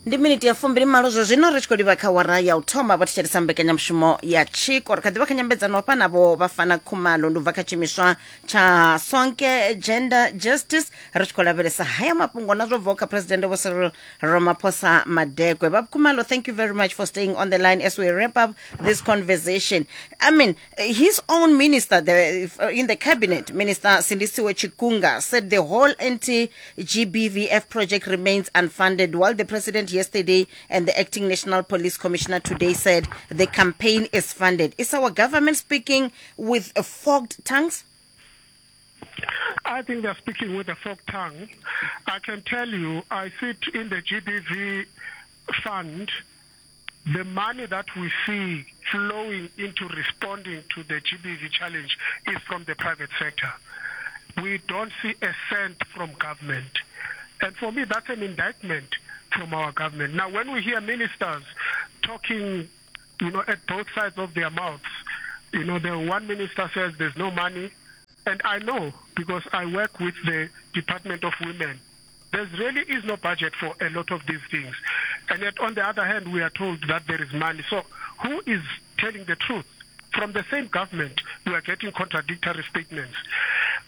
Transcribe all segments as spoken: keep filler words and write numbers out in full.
Ndi miniti ya fumbili malo zwa zwino ri tshi khou livha kha wara ya u thoma vha thetshelesa mbekanyamushumo ya Tshiko. Ri kha ḓivha kha nyambedzano hafha navho Vhafana Khumalo, ndi u bva kha tshiimiswa tsha Sonke Gender Justice. Ri tshi khou lavhelesa haya mafhungo na zwo bvaho kha President Vho Cyril Ramaphosa Madekwe. Vha Khumalo, thank you very much for staying on the line as we wrap up this conversation. I mean, his own minister the, in the cabinet, Minister Sindisiwe Chikunga, said the whole anti-G B V F project remains unfunded, while the president yesterday and the acting National Police Commissioner today said the campaign is funded. Is our government speaking with forked tongues? I think they're speaking with a forked tongue. I can tell you, I sit in the G B V fund. The money that we see flowing into responding to the G B V challenge is from the private sector. We don't see a cent from government. And for me, that's an indictment from our government. Now, when we hear ministers talking, you know, at both sides of their mouths, you know, the one minister says there's no money, and I know because I work with the Department of Women. There really is no budget for a lot of these things. And yet, on the other hand, we are told that there is money. So who is telling the truth? From the same government, we are getting contradictory statements.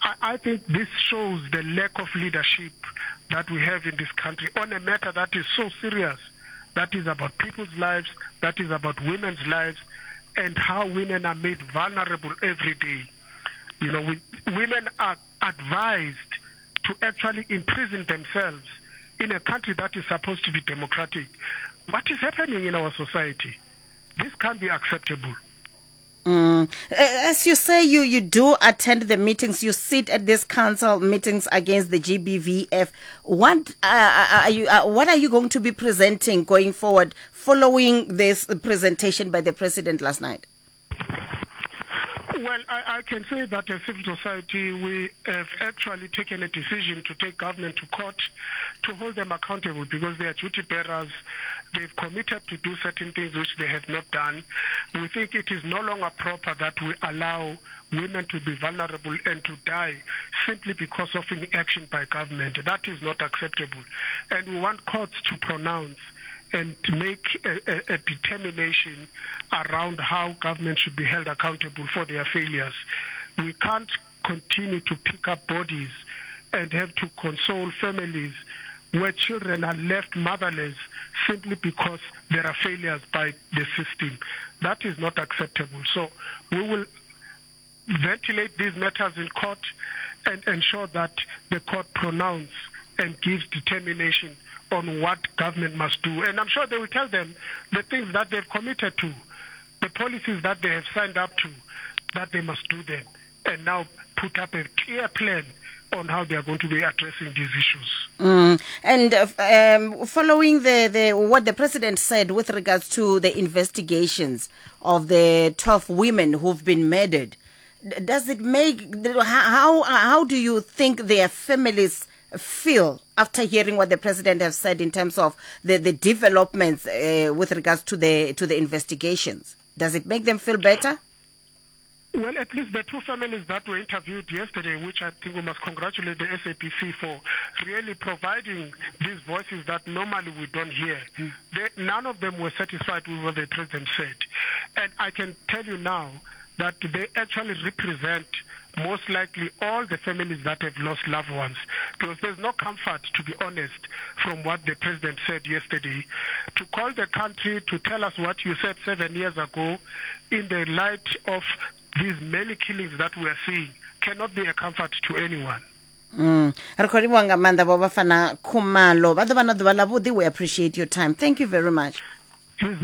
I, I think this shows the lack of leadership that we have in this country on a matter that is so serious, that is about people's lives, that is about women's lives, and how women are made vulnerable every day. You know, we, women are advised to actually imprison themselves in a country that is supposed to be democratic. What is happening in our society? This can't be acceptable. Mm. As you say, you, you do attend the meetings, you sit at these council meetings against the G B V F. What, uh, are you, uh, what are you going to be presenting going forward following this presentation by the president last night? Well, I, I can say that as civil society, we have actually taken a decision to take government to court to hold them accountable because they are duty bearers. They've committed to do certain things which they have not done. We think it is no longer proper that we allow women to be vulnerable and to die simply because of inaction by government. That is not acceptable. And we want courts to pronounce and to make a, a, a determination around how government should be held accountable for their failures. We can't continue to pick up bodies and have to console families where children are left motherless simply because there are failures by the system. That is not acceptable. So we will ventilate these matters in court and ensure that the court pronounce and gives determination on what government must do. And I'm sure they will tell them the things that they've committed to, the policies that they have signed up to, that they must do them, and now put up a clear plan on how they are going to be addressing these issues. Mm. And uh, um, following the, the what the president said with regards to the investigations of the twelve women who've been murdered, does it make, how, how do you think their families feel after hearing what the president has said in terms of the, the developments uh, with regards to the to the investigations? Does it make them feel better? Well, at least the two families that were interviewed yesterday, which I think we must congratulate the S A B C for really providing these voices that normally we don't hear. Mm. They, none of them were satisfied with what the president said. And I can tell you now that they actually represent most likely all the families that have lost loved ones, because there's no comfort, to be honest, from what the president said yesterday. To call the country to tell us what you said seven years ago in the light of these many killings that we are seeing cannot be a comfort to anyone. Mm. Re khou livhuwa nga maanḓa vho Bafana Khumalo. Vha ḓo vha na ḓuvha ḽa vhuḓi. We appreciate your time. Thank you very much. Ri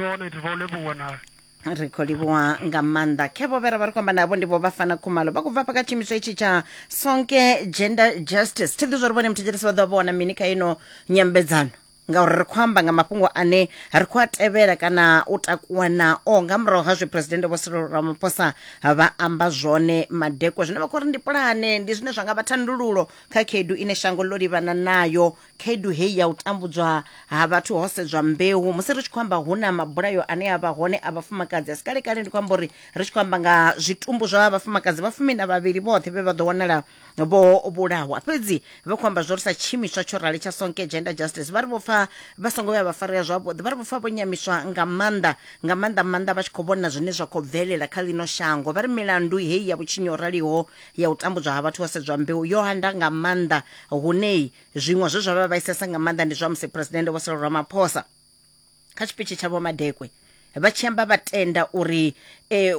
khou livhuwa nga maanḓa. Khe vho vhera vha ri khou amba navho ndi vho Bafana Khumalo vha khou bva kha tshiimiswa itshi tsha Sonke Gender Justice. Thi ḓi zwa uri vhone muthetshelesi vha ḓo vhona mini kha ino nyambedzano, ngauri ri khou amba nga mafhungo ane ri khou a tevhela kana u takuwa nao nga murahu ha zwe President Vho Cyril Ramaphosa vha amba zwone madekwe. Zwine vha khou ri ndi pulane, ndi zwine zwa nga vha thandululo kha khaedu ine shango ḽo livhana nayo Khaedu heyi ya u tambudzwa ha vhathu ho sedzwa mbeu, musi ri tshi khou amba hu na mabulayo ane a vha hone a vhafumakadzi a si kale kale, ndi khou amba uri ri tshi khou amba nga zwitumbu zwa vhafumakadzi vha fumi na vhavhili vhoṱhe vhe vha ḓo wanala vho vhulawa. Fhedzi vha khou amba zwo ri sa tshiimiswa tsho rali tsha Sonke Gender Justice, vha ri vho pfa vha songo vhuya vha farea zwavhuḓi, vha ri vho pfa vho nyamiswa nga maanḓa nga maanḓa maanḓa vha tshi khou vhona zwine zwa khou bvelela kha ḽino shango. Vha ri milandu heyi ya vhutshinyi ho raliho ya u tambudzwa ha vhathu ho sedzwa mbeu yo handa nga maanḓa, hune zwiṅwe zwe zwa vha vhaisesa nga maanḓa ndi zwa musi Presidennde Vho Cyril Ramaphosa kha tshipitshi tsha Vho Madekwe vha tshi amba vha tenda uri eh,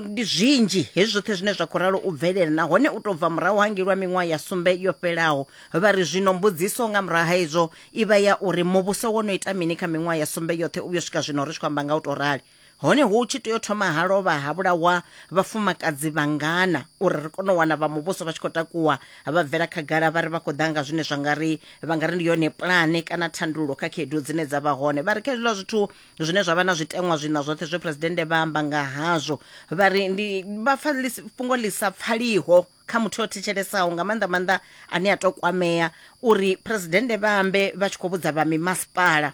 ndi zwinzhi hezwi zwoṱhe zwine zwa khou ralo u bvelela, nahone u tou bva murahu hangei lwa miṅwaha ya sumbe yo fhelaho. Vha ri zwino mbudziso nga murahu ha izwo i vha ya uri muvhuso wo no ita mini kha miṅwaha ya sumbe yoṱhe u vhuyo swika zwino ri tshi khou amba nga u tou rali. Hone hu tshi tea u thoma ha lovha ha vhulawa vhafumakadzi vhangana uri ri kone u wana vha muvhuso vha tshi khou takuwa vha bvela khagala vha ri vha khou ḓa nga zwine zwa nga ri vha nga ri ndi yone pulane kana thandululo kha khaedu dzine dza vha hone. Vha ri kha hezwiḽa zwithu zwine zwa vha na zwiteṅwa zwina zwoṱhe zwe Presidennde vha amba nga hazwo, vha ri ndi vha pfa fhungo ḽi sa pfaliho kha muthu o thetshelesaho nga maanḓa maanḓa ane a to kwamea uri Presidennde vha ambe vha tshi khou vhudza vha mimasipala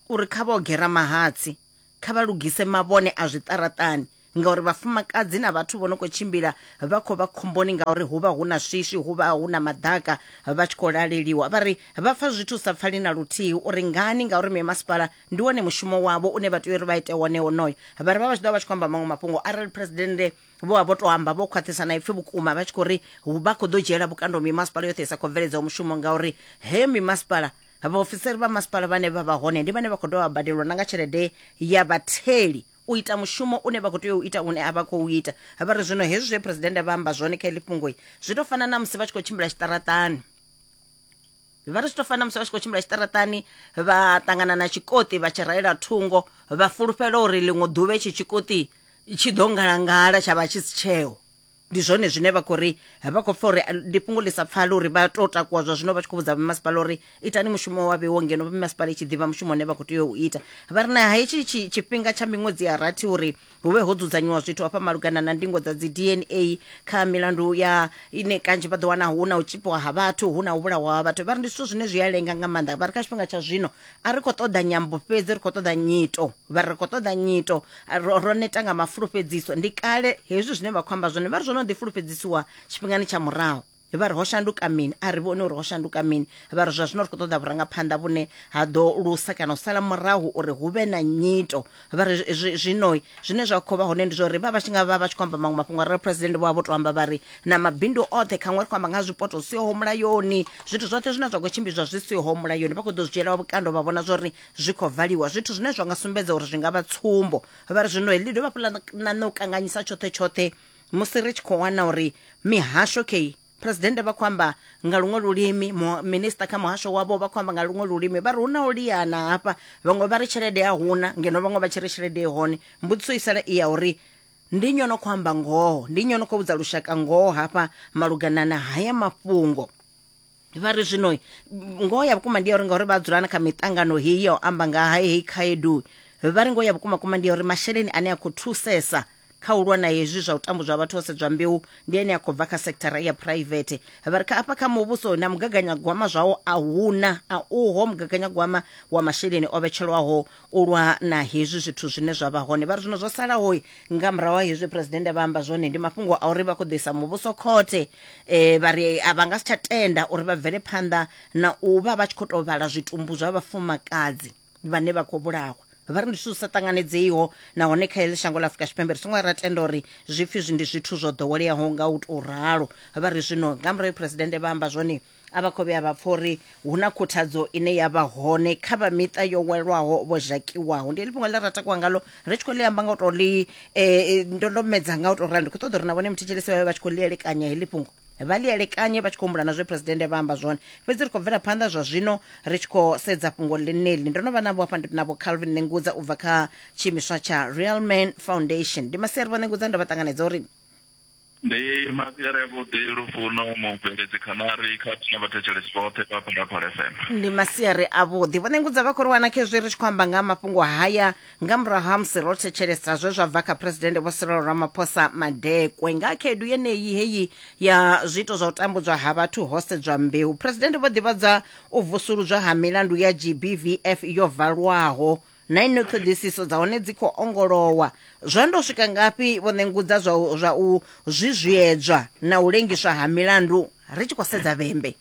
uri kha vho gera mahatsi, kha vha lugise mavhone a zwiṱaraṱani, ngauri vhafumakadzi na vhathu vho no khou tshimbila vha khou vha khomboni ngauri hu vha hu na swiswi, hu vha hu na maḓaka, vha tshi khou laleliwa. Vha ri vha pfa zwithu sa pfali na luthihi uri ngani, ngauri mimasipala ndi wone mushumo wavho une vha tea uri vha ite wone wonoyo. Vha ri vha vha tshi ḓo vha tshi khou amba maṅwe mafhungo arali Presidennde vho vha vho to amba vho khwaṱhisa na ipfi vhukuma vha tshi khou ri vha khou ḓo dzhiela vhukando mimasipala yoṱhe i sa khou bveledzaho mushumo, ngauri he mimasipala vhaofisiri vha masipala vhane vha vha hone ndi vhane vha khou dovha vha badelwa na nga tshelede ya vhatheli u ita mushumo une vha khou tea u ita une a vha khou ita. Vha ri zwino hezwi zwe Presidennde vha amba zwone kha heḽi fhungo zwi tou fana na musi vha tshi khou tshimbila tshiṱaraṱani. Vha ri zwi tou fana na musi vha tshi khou tshimbila tshiṱaraṱani vha ṱangana na tshikoṱi vha tshi raela thungo vha fulufhela uri ḽiṅwe ḓuvha itshi tshikoṱi tshi ḓo ngalangala tsha vha tshi si tsheo. Ndi zwone zwine vha khou ri vha khou pfa uri ndi fhungo ḽi sa pfali uri vha tou takuwa zwa zwino vha tshi khou vhudza vhamasipala uri itani mushumo wa vheiwo ngeno vhamasipala i tshi ḓivha mushumo une vha khou tea u ita. Vha ri na hetshi tshifhinga tsha miṅwedzi ya rathi uri hu vhe ho dzudzanyiwa zwithu hafha malugana na ndingo dza dzi D N A kha milandu ya ine kanzhi vha ḓo wana hu na u tshipiwa ha vhathu, hu na u vhulawa ha vhathu. Vha ri ndi zwithu zwine zwi a lenga nga maanḓa. Vha ri kha tshifhinga tsha zwino a ri khou ṱoḓa nyambo fhedzi, ri khou ṱoḓa nyito. Vha ri ri khou ṱoḓa nyito, ro neta nga mafulufhedziso. Ndi kale hezwi zwine vha khou amba zwone, vha ri zwo no ḓi fulufhedzisiwa tshifhingani tsha murahu. Vha ri ho shanduka mini? A ri vhone uri ho shanduka mini. Vha ri zwa zwino ri khou ṱoḓa vhurangaphanḓa vhune ha ḓo lusa kana u sala murahu uri hu vhe na nyito. Vha ri zwino zwine zwa khou vha hone ndi zwa uri vha vha tshi nga vha vha tshi khou amba maṅwe mafhungo arali President vho vha vho to amba vha ri na mabindu oṱhe khaṅwe ri khou amba nga zwipoto zwi siho mulayoni, zwithu zwoṱhe zwine zwa khou tshimbidzwa zwi siho mulayoni vha khou ḓo zwi dzhiela vhukando vha vhona zwa uri zwi khou valiwa, zwithu zwine zwa nga sumbedza uri zwi nga vha tsumbo. Vha ri zwino heḽi dovha hafhu ḽa ṋaṋa u kanganyisa tshoṱhe tshoṱhe musi ri tshi khou wana uri mihasho kei Presidennde vha khou amba nga luṅwe lulimi, minista kha muhasho wavho vha khou amba nga luṅwe lulimi. Vha ri hu na u liana hafha, vhaṅwe vha ri tshelede a huna ngeno vhaṅwe vha tshi ri tshelede i hone. Mbudziso i sala i ya uri ndi nnyi o no khou amba ngoho, ndi nnyi o no khou vhudza lushaka ngoho hafha malugana na haya mafhungo. Vha ri zwino ngoho ya vhukuma ndi ya uri ngauri vha dzula na kha miṱangano heyi ya u amba nga ha heyi khaedu, vha ri ngoho ya vhukuma kuma ndi ya uri masheleni ane a khou thusesa kha u lwa na hezwi zwa u tambudzwa vhathu ho sedzwa mbeu ndi ane a khou bva kha sekithara ya private. Vha ri kha afha kha muvhuso na mugaganyagwama zwawo a huna, a uho mugaganyagwama wa masheleni o vhetshelwaho u lwa na hezwi zwithu zwine zwa vha hone. Vha ri zwino zwo salaho nga murahu ha hezwi Presidennde vha amba zwone ndi mafhungo a uri vha khou ḓisa muvhuso khothe. Eh, vha ri a vha nga si tsha tenda uri vha bvele phanḓa na u vha vha tshi khou tou vhala zwitumbu zwa vhafumakadzi vhane vha khou vhulawa. Vha ri ndi zwithu zwi sa ṱanganedzeiho nahone kha heḽi shango ḽa Afrika Tshipembe ri songo ra tenda uri zwipfi zwi ndi zwithu zwo ḓoweleaho nga u tou ralo. Vha ri zwino nga murahu Presidennde vha amba zwone a vha khou vhuya vha pfa uri hu na khuthadzo ine ya vha hone kha vha miṱa yo welwaho vho zhakiwaho. Ndi heḽi fhungo ḽe ra takuwa ngalo ri tshi khou ḽi amba nga u tou ḽi ndondomedza nga u tou ralo. Ndi khou ṱoḓa uri na vhone muthetshelesi vha vhe vha tshi khou ḽi elekanya heḽi fhungo, vha ḽi elekanye vha tshi khou humbula na zwe Presidennde vha amba zwone. Fhedzi ri khou bvela phanḓa zwa zwino ri tshi khou sedza fhungo ḽeneḽi. Ndo no vha navho hafha navho Calvin Nengudza u bva kha tshiimiswa tsha Real Man Foundation. Ndi masiari vho Nengudza, ndo vha ṱanganedza uri Ndi masiari avhuḓi Lufuno mubveledzi Khanari khathihi na vhathetshelesi vhoṱhe vha Phalaphala F M. Ndi masiari avhuḓi. Vho Ṋengudza vha khou ri wana khezwi ri tshi khou amba nga mafhungo haya nga murahu ha musi ro thetshelesa zwe zwa bva kha Presidennde Vho Cyril Ramaphosa Madekwe nga khaedu yeneyi heyi ya zwiito zwa u tambudzwa ha vhathu ho sedzwa mbeu. Presidennde vho ḓivhadza u vusuludzwa ha milandu ya G B V F yo valwaho na ino ṱhoḓisiso dza hone dzi khou ongolowa. Zwa ndo swika ngafhi Vho Ṋengudza zwa zwa u zwizwiedzwa na u lengiswa ha milandu ri tshi khou sedza Vhembe?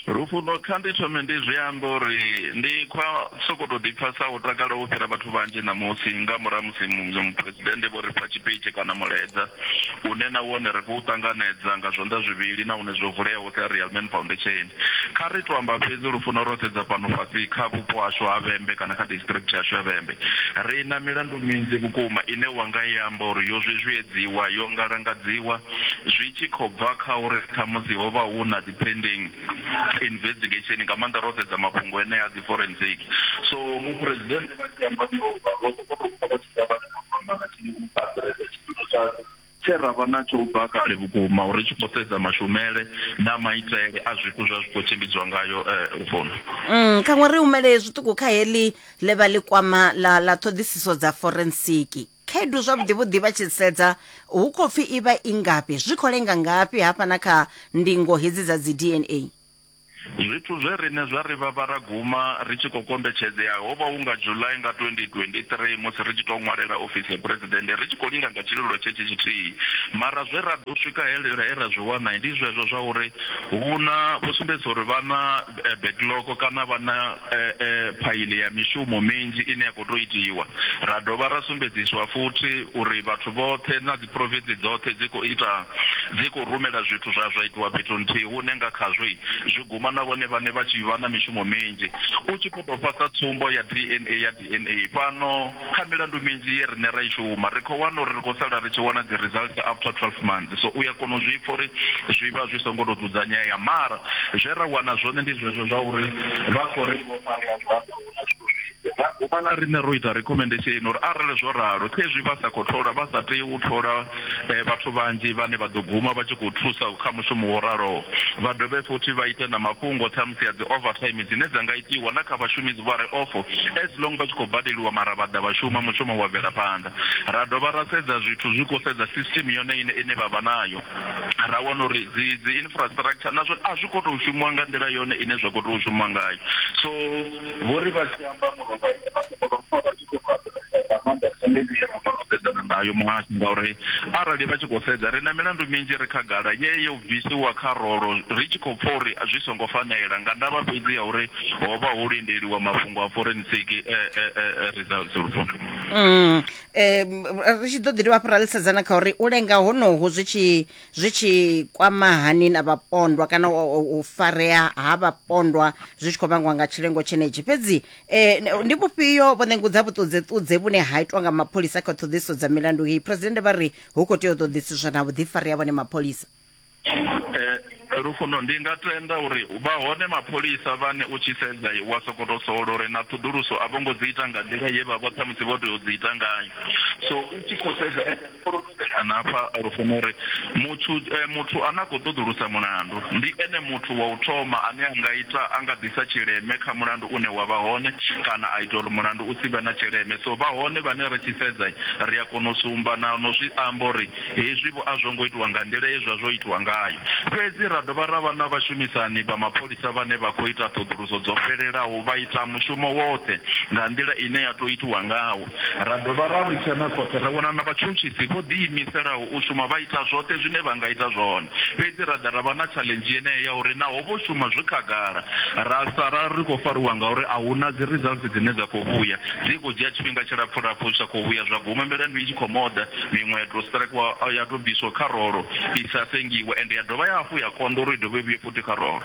Lufuno, kha ndi thome ndi zwi amba uri ndi khwa soko to ḓipfa sa u takala u fhira vhathu vhanzhi ṋamusi nga murahu musi muphuresidennde vho ri fha tshipitshi kana mulaedza une na wone ri khou ṱanganedza nga zwanḓa zwivhili na une zwo vuleaho sa Real Men Foundation. Kha ri to amba fhedzi Lufuno ro sedza fhano fhasi kha vhupo hashu ha Vhembe kana kha district yashu ya Vhembe, ri na milandu minzhi vhukuma ine wa nga i amba uri yo zwizwiedziwa, yo ngalangadziwa zwi tshi khou bva kha uri khamusi ho vha hu na dzi pending investigation nga maanḓa ro sedza mafhungo ene a dzi forensic. So muphuresidennde vha tshi amba tshe ra vha natsho u bva kale vhukuma uri tshi khou sedza mashumele na maitele a zwithu zwa zwi khou tshimbidzwa ngayo Lufuno. Mm, khaṅwe ri humele zwiṱuku kha heḽi ḽe vha ḽi kwama ḽa ḽa ṱhoḓisiso dza forensiki. Khaedu zwavhuḓi vhuḓi vha tshi sedza hu khou pfi i vha i ngafhi, zwi khou lenga ngafhi hafha na kha ndingo hedzi dza dzi D N A? Zwithu zwe riṋe zwa ri vha ra guma ri tshi khou kombetshedzea ho vha hu nga July nga twenty twenty-three musi ri tshi tou ṅwalela ofisi ya president ri tshi khou linga nga tshililo tshetshe tshithihi, mara zwe ra ḓo swika he ra zwi wana ndi zwezwo zwa uri hu na vho sumbedzisa uri vha na backlog kana vha na phaili ya mishumo minzhi ine ya khou tou itiwa. Ra dovha ra sumbedziswa futhi uri vhathu vhoṱhe na dzi province dzoṱhe dzi khou ita dzi khou rumela zwithu zwa zwa itiwa fhethu nthihi hune nga khazwo zwi guma na vhone vhane vha tshi vha na mishumo minzhi. U tshi khou tou fhasa tsumbo ya D N A ya D N A fhano kha milandu minzhi ye riṋe ra i shuma ri khou wana uri ri khou sala ri tshi wana dzi results after twelve months, so u ya kona u zwi pfa uri zwi vha zwi songo tou dzudzanyea, mara zwe ra wana zwone ndi zwezwo zwa uri vha khou ri vho farea zwanḓa hu na zwithu zwinzhi. Ra na riṋe ro ita recommendation uri arali zwo ralo khezwi vha sa khou thola vha sa tei u thola vhathu vhanzhi vhane vha ḓo guma vha tshi khou thusa kha mushumo wo raloho, vha dovhe futhi vha ite na mafhungo ṱhamusi ya dzi overtime dzine dza nga itiwa na kha vhashumi vha re off as long vha tshi khou badeliwa mara vha ḓa vha shuma mushumo wa bvela phanḓa. Ra dovha ra sedza zwithu zwi khou sedza system yone ine ine vha vha nayo, ra wana uri dzi dzi infrastructure nazwo a zwi khou tou shumiwa nga nḓila yone ine zwa khou tou shumiwa ngayo. So vho ri vha tshi amba nayo muhasho ngauri arali vha tshi khou sedza ri na milandu minzhi ri khagala ye yo bvisiwa kha rolo ri tshi khou pfa uri zwi songo fanela nga ndavha fhedzi ya uri ho vha ho lindeliwa mafhungo a forensic results. Lufuno, mm eh ri tshi ḓo ḓi dovha hafhu ra ḽi kha uri u lenga honohu zwi tshi zwi tshi kwama hani na vhapondwa kana u farea ha vhapondwa zwi tshi khou vhangwa nga tshilengo tshenetshi. Fhedzi eh ndi vhufhio Vho Ṋengudza vhuṱudzeṱudze vhune ha itwa nga mapholisa kha ṱhoḓisiso dza milandu heyi? Presidennde vha ri hu khou tea u ṱoḓisiswa na vhuḓifari ha vhone mapholisa. Lufuno, ndi nga tenda uri vha hone mapholisa vhane u tshi sedza wa sokoto sola uri na ṱhoḓuluso a vho ngo dzi ita nga nḓila ye vha vha ṱhamusi vho tea u dzi ita ngayo. So u tshi khou sedza na hafha Lufuno uri muthu muthu ane a khou ṱoḓulusa mulandu ndi ene muthu wa u thoma ane a nga ita a nga ḓisa tshileme kha mulandu une wa vha hone kana a ita uri mulandu u si vhe na tshileme. So vha hone vhane ri tshi sedza ri a kona u sumba na no zwi amba uri hezwi vho a zwo ngo itiwa nga nḓila ye zwa zwo itiwa ngayo. Fhedzi ra dovha ra vha na vhashumisani vha mapholisa vhane vha khou ita ṱhoḓuluso dzo fhelelaho vha ita mushumo woṱhe nga nḓila ine ya tou itiwa ngawo. Ra dovha ra litsha na khothe ra wana na vhatshutshisi vho ḓiimiselaho u shuma vha ita zwoṱhe zwine vha nga ita zwone. Fhedzi ra ḓa ra vha na challenge yeneyo ya uri naho vho shuma zwi khagala ra sala ri khou fariwa ngauri a hu na dzi results dzine dza khou vhuya, dzi khou dzhia tshifhinga tshilapfhu lapfhu zwi sa khou vhuya, zwa guma milandu i tshi khou moda, miṅwe ya tou strikewa ya tou bviswa kha rolo i sa sengiwe ende ya dovha ya hafhu ya konḓa uri i dovhe vhuye futhi kha rolo.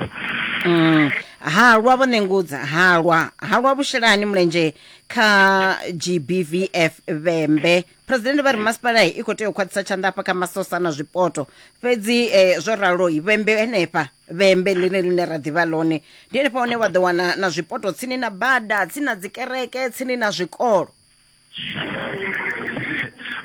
Mm. Halwa Vho Ṋengudza, halwa halwa vhushelani mulenzhe kha G B V F Vhembe. Presidennde vha ri masipala i khou tea u khwaṱhisa tshanḓa hafha kha masosa na zwipoto, fhedzi eh, zwo ralo Vhembe henefha Vhembe ḽine ḽine ra ḓivha ḽone ndi henefha hune wa ḓo wana na zwipoto tsini na bada, tsini na dzikereke, tsini na zwikolo.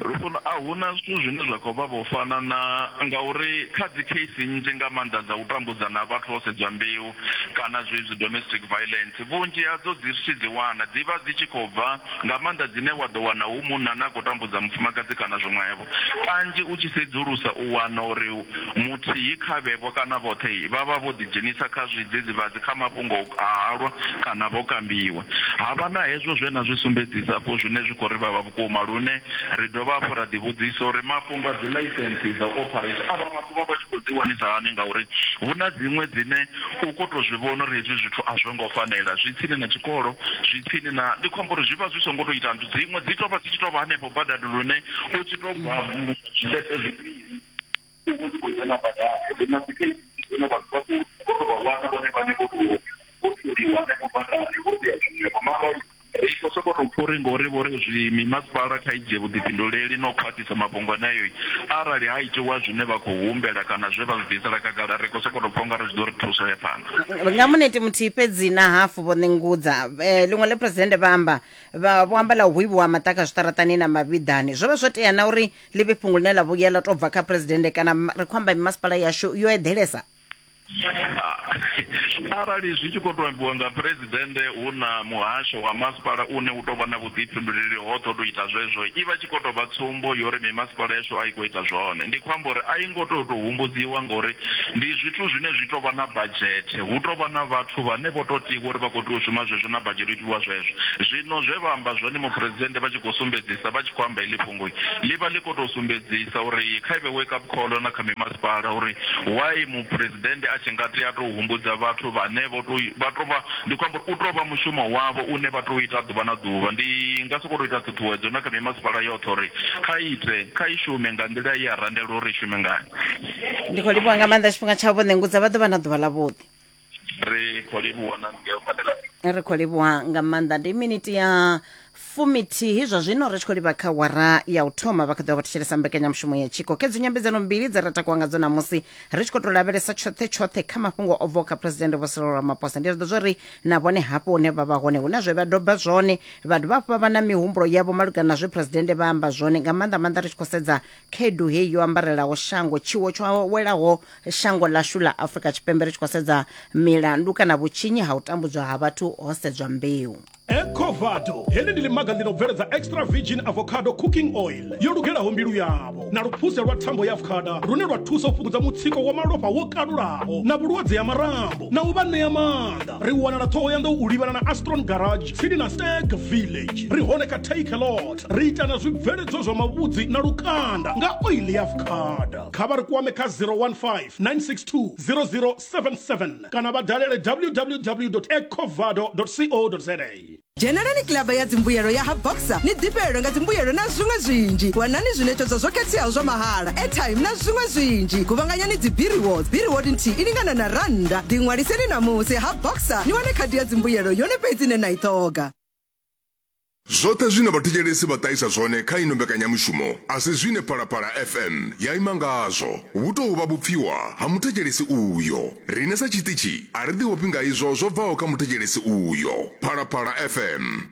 Lufuno, a huna zwithu zwine zwa khou vha vho fana na ngauri kha dzi case nnzhi nga maanḓa dza u tambudza na vhathu vho sedzwa mbeu kana zwezwi domestic violence, vhunzhi hadzo dzi tshi dzi wana dzi vha dzi tshi khou bva nga maanḓa dzine wa ḓo wana hu munna na khou tambudza mufumakadzi kana zwiṅwevho. Kanzhi u tshi sedzulusa u wana uri muthihi kha vhevho kana vhoṱhe vha vha vho ḓidzhenisa kha zwidzidzivhadzi, kha mafhungo a halwa kana vho kambiwa. Ha vha na hezwo zwe na zwi sumbedzisa afho zwine zwi khou ri vhavha vhukuma, lune ri dovha hafhu ra ḓivhudzisa uri mafhungo a dzi ḽaisentsi dza u operate avha vhathu vha vha tshi khou dzi wanisa hani, ngauri hu na dziṅwe dzine u khou tou zwi vhona uri hezwi zwithu a zwo ngo fanela, zwi tsini na tshikolo, zwi tsini na, ndi khou amba uri zwi vha zwi songo tou ita nthu, dziṅwe dzi tou vha dzi tshi tou vha hanefho badani lune u tshi tou bva zwiṱepe zwivhili u vho khou dzhena badani. Ri na dzi case dzine vhathu vha khou tou vha wana vhone vhane vho tou vho thuliwa hanefho badani vho tea zwiṅwevho. Mara ri khou sokou tou pfha uri ngori vho ri zwi mimasipala kha i dzhie vhuḓifhinduleli na u khwaṱhisa mafhungo aneyo, arali ha itiwa zwine vha khou humbela kana zwe vha zwi bvisela khagala, ri khou sokou tou pfha ungari zwi ḓo ri thusa ya phanḓa. Nga muneti muthihi fhedzi na hafu vho ṋengudza ḽiṅwe ḽe presidennde vha amba vha vho amba ḽa u hwivhiwa maṱaka zwiṱaraṱani na mavhiḓani, zwo vha zwo tea na uri ḽi vhe fhungo ḽine ḽa vhuya ḽa tou bva kha presidennde, kana ri khou amba mimasipala yashu yo eḓelesa? Arali zwi tshi khou tou ambiwa nga presidennde hu na muhasho wa masipala une u tou vha na vhuḓifhinduleli hoṱhe u tou ita zwezwo, i vha tshi khou tou vha tsumbo yo uri mimasipala yashu a i khou ita zwone. Ndi khou amba uri a i ngo tou tou humbudziwa ngori ndi zwithu zwine zwi tou vha na badzhete, hu tou vha na vhathu vhane vho tou tiwa uri vha khou tea u shuma zwezwo na badzhete itiwa zwezwo. Zwino zwe vha amba zwone muphuresidennde vha tshi khou sumbedzisa, vha tshi khou amba heḽi fhungo ḽi vha ḽi khou tou sumbedzisa uri kha ivhe wake up call na kha mimasipala uri why muphuresidennde a tshi nga tea tou humbudza vhathu vhane vho tou vha tou vha, ndi khou amba uri u tou vha mushumo wavho une vha tou ita ḓuvha na ḓuvha. Ndi nga sokou tou ita ṱhuṱhuwedzo na kha mimasipala yoṱhe uri kha ite, kha i shume nga nḓila ye ya randelwa uri i shume ngayo. Ndi khou livhuwa nga maanḓa tshifhinga tshavho vho ṋengudza, vha ḓo vha na ḓuvha ḽavhuḓi. Ri khou livhuwa na ngeo badela. Ri khou livhuwa nga maanḓa. Ndi miniti ya fumithihi zwa zwino ri tshi khou livha kha wara ya u thoma. Vha kha ḓo vha thetshelesa mbekanyamushumo ya tshiko kedzo nyambedzano mbili dze ra takuwa ngadzo namusi ri tshi khou tou lavhelesa tshoṱhe tshoṱhe kha mafhungo o bvaho kha presidennde Vho Cyril Ramaphosa. Ndi zwi ḓo zwo ri na vhone hafho hune vha vha hone hu na zwe vha doba zwone, vha dovha hafhu vha vha na mihumbulo yavho malugana na zwe presidennde vha amba zwone, nga maanḓa maanḓa ri tshi khou sedza khaedu heyi yo ambarelaho shango, tshiwo tsho welaho shango ḽashu ḽa Afrika Tshipembe, ri tshi khou sedza milandu kana vhutshinyi ha u tambudzwa ha vhathu ho sedzwa mbeu. Ecovado heḽi ndi ḽimaga ḽi no bveledza extra virgin avocado cooking oil yo lugelaho mbilu yavho na luphuse lwa thambo ya avocado lune lwa thusa u fhungudza mutsiko wa malofha wo kalulaho na vhulwadze ha marambo na u vha ṋea maanḓa. Ri wanala Ṱhohoyanḓou u livhana na Astron Garage tsini na Stag Village. Ri hone kha Take a Lot. Ri ita na zwibveledzwa zwa mavhudzi na lukanda nga oil ya avocado. Kha vha ri kwame kha zero one five nine six two zero zero seven seven kana vha dalele w w w dot ecovado dot co dot za. Dzhenelani kilaba ya dzimbuyelo ya ha Boxer ni ḓifhelwe nga dzimbuyelo na zwiṅwe zwinzhi. Wanani zwiṋetshedzo zwo khetheaho zwa mahala, airtime na zwiṅwe zwinzhi. Kuvhanganyani dzi B-rewards, B-reward nthihi i lingana na rannda. Ḓiṅwaliseni namusi ha Boxer ni wane khadi ya dzimbuyelo yone fhedzi ine na i ṱhoga. Zwoṱhe zwine vhathetshelesi vha ṱahisa zwone kha ino mbekanyamushumo a si zwine Phalaphala F M ya ima ngazwo. Vhu tou vha vhupfiwa ha muthetshelesi uyo. Riṋe sa tshiṱitshi a ri ḓiofhi nga izwo zwo bvaho kha muthetshelesi uyo. Phalaphala F M.